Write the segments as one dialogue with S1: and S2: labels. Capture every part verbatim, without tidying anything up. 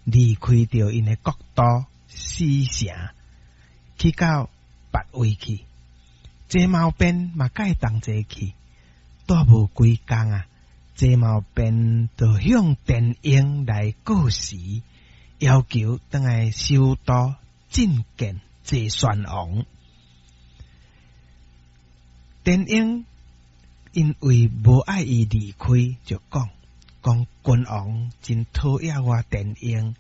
S1: 離開著𪜶的國都死城，去到別位去。謝茂變嘛共伊同齊去，蹛無幾工啊，謝茂變就向田嬰來告辭，要求轉來首都覲見齊宣王。田嬰因為無愛伊離開，就講講君王真討厭我田嬰，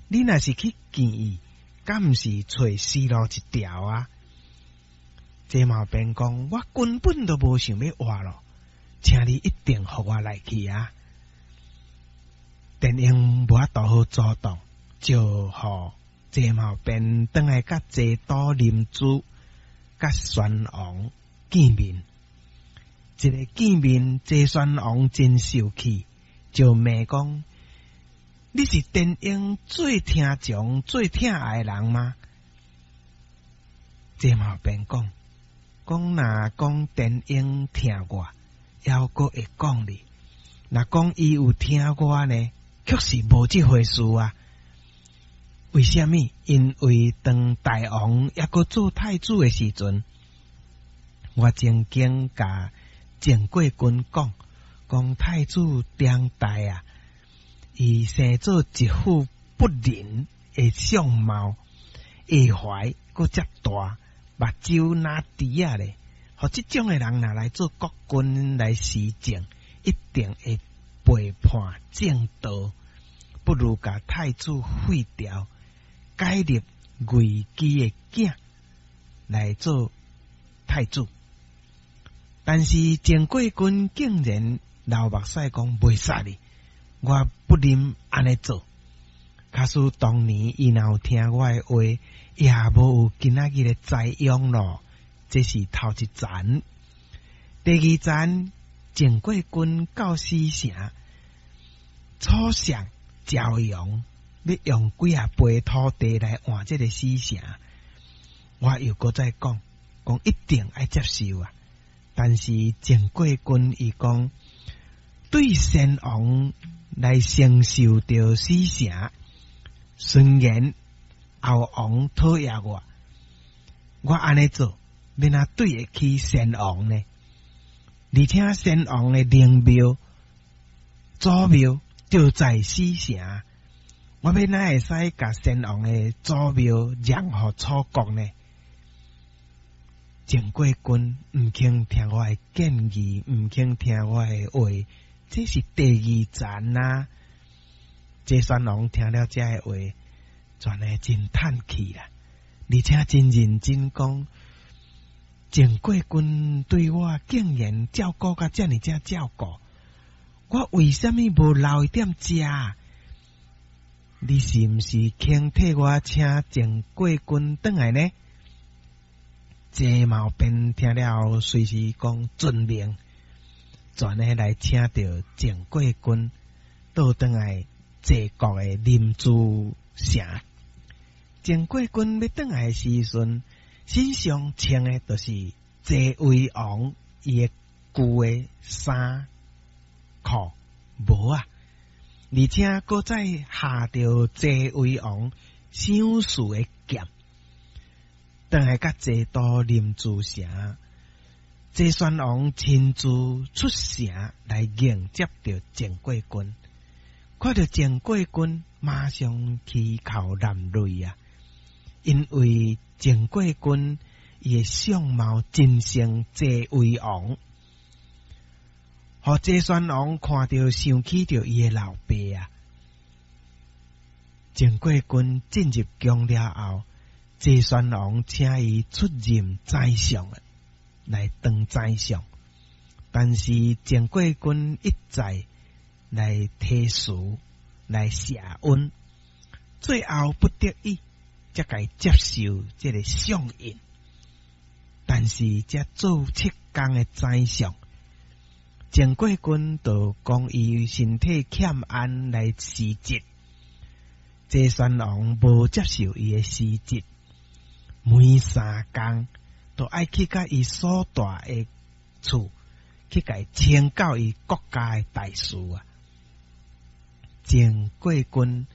S1: 你若是去見伊，敢毋是揣死路一條啊？謝茂變講，我根本都無想欲活咯，請你一定予我來去啊！田嬰無法度好阻擋，就予謝茂變轉來佮齊都臨淄佮宣王見面。一个見面，齊宣王真受氣，就罵講：你是田嬰最聽從、最疼愛的人嗎？謝茂變講。講若講田嬰疼我，猶閣會講哩；若講伊有疼我呢，卻是無這回事啊。為啥物？因為當大王猶閣做太子的時陣，我曾經共鄭國君講，講太子長大啊，伊生做一副不仁的相貌，下懷閣遮大。目睭若豬仔咧，予這種的人若來做國君來施政，一定會背叛正道，不如共太子廢掉，改立魏姬的囝來做太子。但是鄭國君竟然流目屎講袂使哩，我不忍按呢做。假使當年伊若有聽我的話，也無有今仔日的災殃咯。這是頭一層，第二層，鄭國君到死城，楚相趙陽欲用幾仔杯土地來換這个死城，我又閣再講，講一定愛接受啊。但是鄭國君伊講，對先王來承受著死城。雖然後王討厭我，我按呢做，欲按怎對會起先王呢？而且先王的陵廟、祖廟就在死城，我欲按怎會使共先王的祖廟讓予楚國呢？鄭國君毋肯聽我的建議，毋肯聽我的話，這是第二層啊！齊宣王聽了這个話，全的真嘆氣啦，而且真認真講，鄭國君對我竟然照顧甲遮爾遮照顧，我為啥物無留伊踮遮？你是毋是肯替我請鄭國君轉來呢？謝茂變聽了，隨時講遵命，全的來請著鄭國君倒轉來齊國的臨淄城。鄭國君欲轉來的時陣，身上穿的就是齊威王伊的舊的衫褲帽仔，而且閣再下著齊威王賞賜的劍，轉來佮齊都臨淄城，齊宣王親自出城來迎接著鄭國君。看著鄭國君，馬上泣哭潸淚啊！因為鄭國君伊的相貌真像齊威王，予齊宣王看著想起著伊的老爸啊！鄭國君進入宮了後，齊宣王請伊出任宰相，來當宰相，但是鄭國君一再來推辭，來謝恩，最後不得已，才共伊接受這个相印。但是才做七工的宰相，鄭國君就講伊身體欠安來辭職，齊宣王無接受伊的辭職，每三工都愛去共伊所蹛的厝去共伊請教伊國家的大事啊。鄭國君